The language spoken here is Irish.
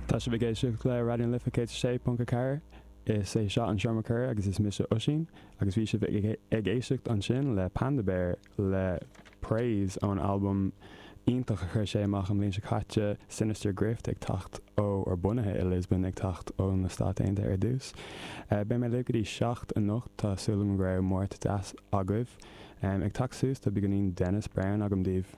Tá sibh ag éisteacht le Raidió na Life 106.4. Is é seo an Seomra Comhrá agus is mise Oisín agus bhí sibh ag éisteacht ansin le Panda Bear le Praise ón albam iontach a chuir sé amach an bhliain seo caite, Sinister Grift, ag teacht ó, or bunaithe i Lisbon, ag teacht ó na Stáit Aontaithe ar dtús. Beidh mé libh go dtí 7 anocht, tá súil agam go raibh Máirt deas agaibh. Ag teacht suas tá beagáinín Dennis Brown agam daoibh.